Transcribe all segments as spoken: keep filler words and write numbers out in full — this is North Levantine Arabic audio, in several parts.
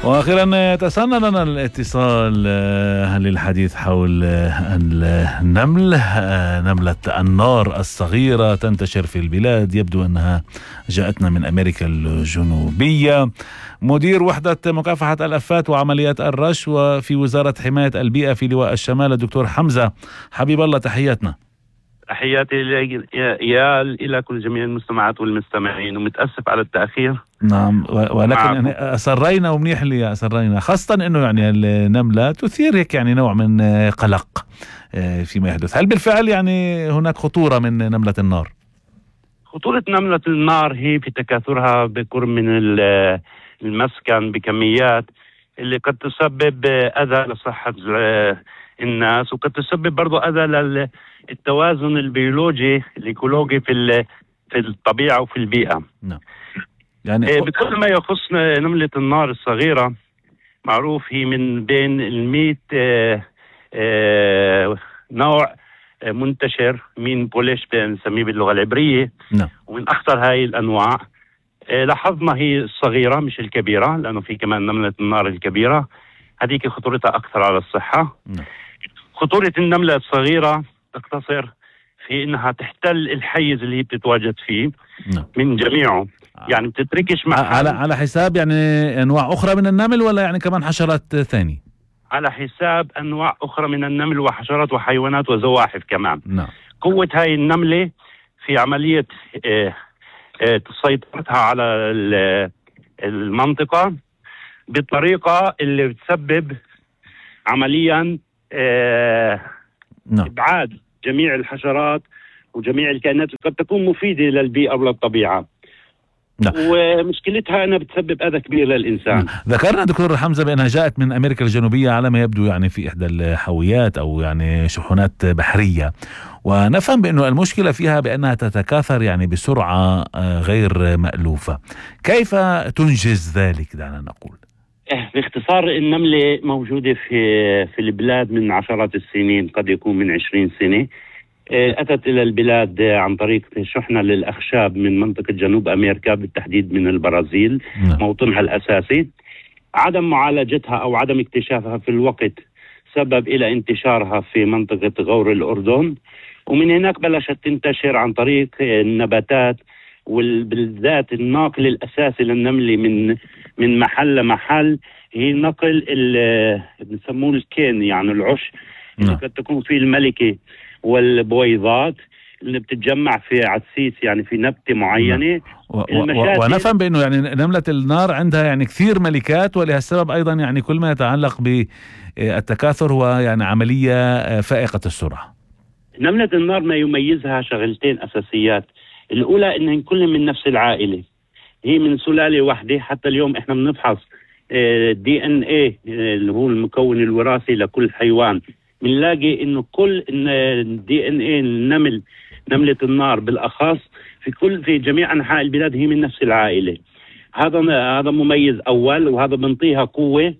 واخيرا تسنى لنا الاتصال للحديث حول النمل، نملة النار الصغيرة تنتشر في البلاد، يبدو أنها جاءتنا من أمريكا الجنوبية. مدير وحدة مكافحة الآفات وعمليات الرشوة في وزارة حماية البيئة في لواء الشمال، الدكتور حمزة حبيب الله، تحياتنا. تحياتي يا إلى كل جميع المستمعات والمستمعين، ومتأسف على التأخير. نعم، ولكن يعني أسرينا ومنيح اللي أسرينا، خاصة أنه يعني النملة تثير هيك يعني نوع من قلق فيما يحدث. هل بالفعل يعني هناك خطورة من نملة النار؟ خطورة نملة النار هي في تكاثرها بقرب من المسكن بكميات اللي قد تسبب أذى لصحة الناس، وقد تسبب برضو أذى للتوازن البيولوجي الإيكولوجي في في الطبيعة وفي البيئة. نعم. يعني بكل ما يخص نملة النار الصغيرة، معروف هي من بين المئة آه آه نوع منتشر من بوليش بنسميه باللغة العبرية. نعم. ومن أخطر هاي الأنواع آه لاحظنا هي الصغيرة مش الكبيرة، لأنه في كمان نملة النار الكبيرة، هذيك خطورتها أكثر على الصحة. نعم. خطورة النملة الصغيرة تقتصر في إنها تحتل الحيز اللي هي بتتواجد فيه. نعم. من جميعه، يعني بتتركش محل على على حساب يعني انواع اخرى من النمل، ولا يعني كمان حشرات ثانية؟ على حساب انواع اخرى من النمل وحشرات وحيوانات وزواحف كمان. نعم. قوة هاي النملة في عملية اه اه سيطرتها على المنطقة بطريقة اللي بتسبب عمليا اه نعم. ابعاد جميع الحشرات وجميع الكائنات اللي قد تكون مفيدة للبيئة وللطبيعة. نعم. ومشكلتها أنها بتسبب أذى كبير للإنسان. نعم. ذكرنا دكتور حمزة بأنها جاءت من أمريكا الجنوبية على ما يبدو، يعني في إحدى الحاويات أو يعني شحنات بحرية، ونفهم بأنه المشكلة فيها بأنها تتكاثر يعني بسرعة غير مألوفة. كيف تنجز ذلك دعنا نقول؟ باختصار، النملة موجودة في في البلاد من عشرات السنين، قد يكون من عشرين سنة. أتت إلى البلاد عن طريق شحنة للأخشاب من منطقة جنوب أمريكا، بالتحديد من البرازيل. نعم. موطنها الأساسي. عدم معالجتها أو عدم اكتشافها في الوقت سبب إلى انتشارها في منطقة غور الأردن، ومن هناك بلشت تنتشر عن طريق النباتات، وبالذات الناقل الأساسي للنملة من من محل لمحل هي نقل اللي بنسموه الكين، يعني العش. نعم. اللي قد تكون فيه الملكة والبويضات اللي بتتجمع في عدسيس، يعني في نبتة معينة. و- و- ونفهم بأنه يعني نملة النار عندها يعني كثير ملكات، ولهالسبب أيضا يعني كل ما يتعلق بالتكاثر هو يعني عملية فائقة السرعة. نملة النار ما يميزها شغلتين أساسيات. الأولى إنهن كل من نفس العائلة، هي من سلالة واحدة. حتى اليوم إحنا بنفحص دي ان ايه اللي هو المكون الوراثي لكل حيوان، بنلاقي انه كل الدي ان ايه النمل، نملة النار بالاخص، في كل في جميع انحاء البلاد هي من نفس العائلة. هذا هذا مميز اول، وهذا بنطيها قوة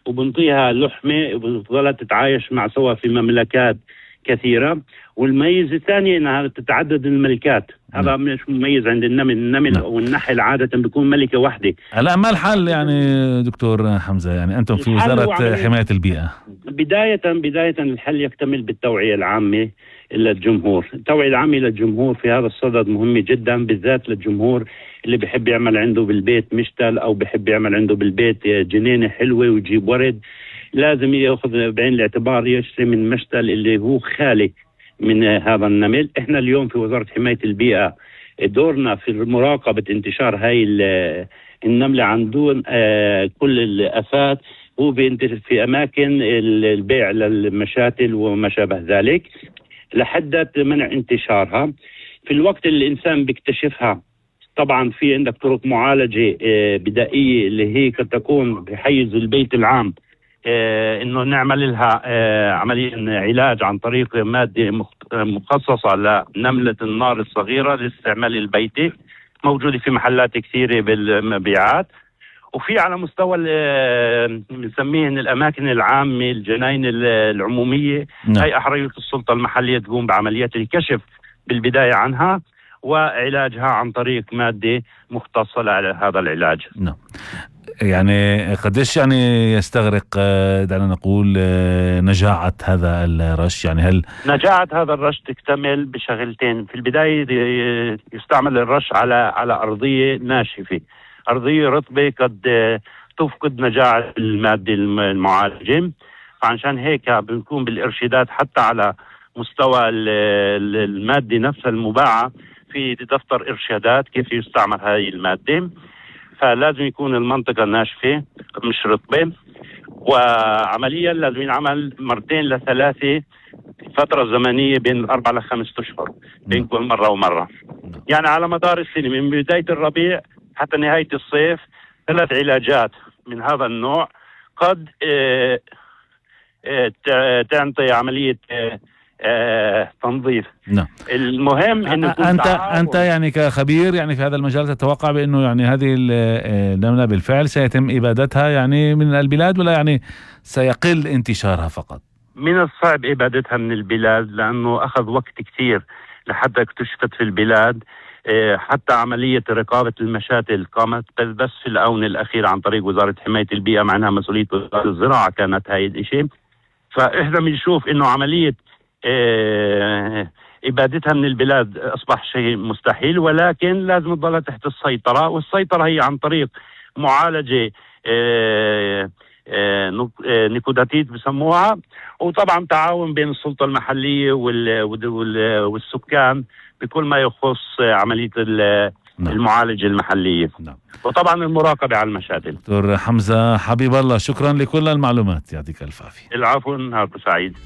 وبنطيها لحمة وبتظل تتعايش مع سوا في مملكات كثيرة. والميز الثاني انها تتعدد الملكات. هذا مش مميز عند النمل. النمل او النحل عادة بيكون ملكة واحدة. لا، ما الحل يعني دكتور حمزة؟ يعني أنتم في وزارة حماية البيئة. بداية بداية الحل يكتمل بالتوعية العامة للجمهور. التوعية العامة للجمهور في هذا الصدد مهمة جدا، بالذات للجمهور اللي بيحب يعمل عنده بالبيت مشتل، أو بيحب يعمل عنده بالبيت جنينة حلوة ويجيب ورد. لازم يأخذ بعين الاعتبار يشتري من مشتل اللي هو خالي من هذا النمل. احنا اليوم في وزارة حماية البيئة دورنا في مراقبة انتشار هاي النملة عن دون آه كل الآفات، هو بينتشر في أماكن البيع للمشاتل وما شابه ذلك لحد منع انتشارها. في الوقت اللي الإنسان بيكتشفها طبعا في عندك طرق معالجة آه بدائية اللي هي قد تكون بحيز البيت العام، آه انه نعمل لها آه عمليا علاج عن طريق مادة مخصصة لنملة النار الصغيرة للاستعمال البيتي، موجودة في محلات كثيرة بالمبيعات. وفي على مستوى بنسميهن الأماكن العامة، الجناين العمومية، هي أحرية السلطة المحلية تقوم بعمليات الكشف بالبداية عنها وعلاجها عن طريق مادة مختصة لهذا العلاج. نعم. يعني قديش يعني يستغرق آه، دعنا نقول آه، نجاعة هذا الرش؟ يعني هل نجاعة هذا الرش تكتمل بشغلتين. في البداية ي- يستعمل الرش على على أرضية ناشفة، أرضية رطبة قد آه، تفقد نجاعة المادة الم- المعالجة. فعشان هيك بنكون بالإرشادات حتى على مستوى ال- ال- المادة نفسها المباعة في دفتر إرشادات كيف يستعمل هذه المادة. فلازم يكون المنطقة ناشفة مش رطبة، وعمليا لازم ينعمل مرتين لثلاثة فترة زمنية بين أربع لخمس أشهر بين كل مرة ومرة. يعني على مدار السنة من بداية الربيع حتى نهاية الصيف ثلاث علاجات من هذا النوع قد آه، آه، ت- تعطي عملية آه، آه، تنظيف. نعم. المهم انه يكون انت تعاون. انت يعني كخبير يعني في هذا المجال تتوقع بانه يعني هذه ال- آه، النملة بالفعل سيتم ابادتها يعني من البلاد، ولا يعني سيقل انتشارها فقط؟ من الصعب إبادتها من البلاد لأنه أخذ وقت كثير لحتى اكتشفت في البلاد. إيه، حتى عملية رقابة المشاتل قامت بس بس في الآونة الأخيرة عن طريق وزارة حماية البيئة، مع أنها مسؤولية وزارة الزراعة كانت هاي الشيء. فإحنا بنشوف إنه عملية إيه، إبادتها من البلاد أصبح شيء مستحيل، ولكن لازم تضلها تحت السيطرة، والسيطرة هي عن طريق معالجة إيه، إيه، نك- إيه، نيكوداتيد بسموها، وطبعا تعاون بين السلطة المحلية وال- وال- والسكان بكل ما يخص عملية ال- نعم. المعالجة المحلية، نعم. وطبعا المراقبة على المشاتل. دكتور حمزة حبيب الله، شكرا لكل المعلومات، يعطيك الف عافية. العفو، نهاركم سعيد.